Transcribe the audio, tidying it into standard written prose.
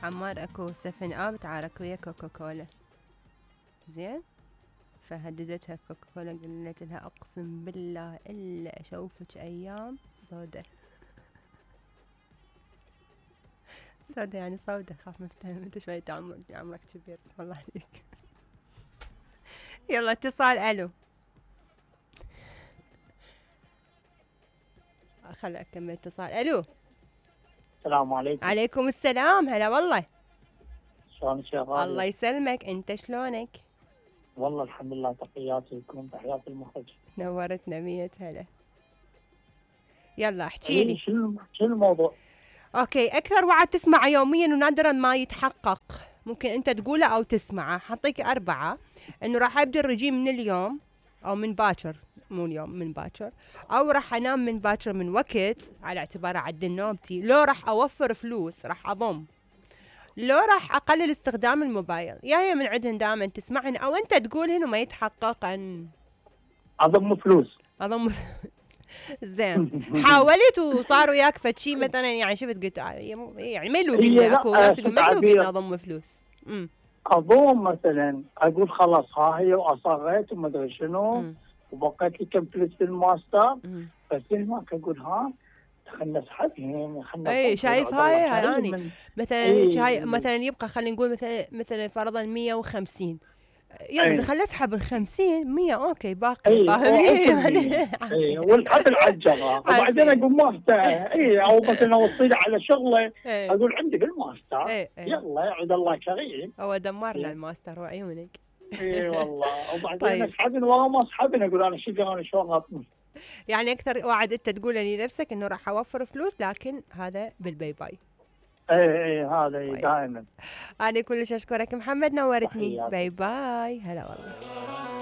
عمار اكو 7 اب تعارك ويا كوكا كولا، زين؟ فهددتها كوكا كولا، قالت لها اقسم بالله الا اشوفك ايام سودة. سودة يعني سودة، خاف مفتهم انت شوية عمرك كبير، اسم الله عليك. يلا اتصال، الو. خل اكمل اتصال. الو. السلام عليكم. عليكم السلام، هلا والله. شلونك يا غالية؟ الله يسلمك، انت شلونك؟ والله الحمد لله، تحياتي لكم، تحياتي المخرج. نورتنا 100 هلا. يلا احكي لي. شنو الموضوع؟ اوكي، اكثر وعد تسمعه يوميا ونادرا ما يتحقق، ممكن انت تقوله او تسمعه. حطيك 4: انه راح ابدي الرجيم من اليوم او من باكر، مو اليوم، من باكر، او راح انام من باكر من وقت على اعتبار اعدل نومتي، لو راح اوفر فلوس راح اضم، لو راح اقلل استخدام الموبايل. يا هي من عندهن دائما تسمعهن او انت تقولهن وما يتحققن. اضم فلوس. اضم. زين، حاولت وصار وياك فد شيء مثلا، يعني شفت قلت يعني ملو قلنا، اكو ناس يقول ملو قلنا اضم فلوس. اضم مثلا، اقول خلاص ها هي واصريت وما ادري شنو، وبقيت لي كم فلوس في الماستر، بس هناك اقول ها خلنا نسحبهم، خلنا. اي شايف هاي يعني مثلا هيك، هاي مثلا يبقى خلينا نقول مثلا فرضا 150، يلا خلينا اسحب ال50 100 اوكي باقي فاهمين. اي والحبل على الجره، وبعدين اقول ماستر، او مثلا اوصله على شغله، اقول عندي بالماستر، يلا يعود الله كريم. هو دمرنا الماستر وعيونك. اي والله. وبعدين اسحبن ورا ما اسحبن اقول انا شقر، انا شلون اطمن. يعني اكثر وعد انت تقول لنفسك انه راح اوفر فلوس، لكن هذا بالباي باي. اي هذا دائما. انا كلش اشكرك محمد، نورتني. باي باي، هلا والله.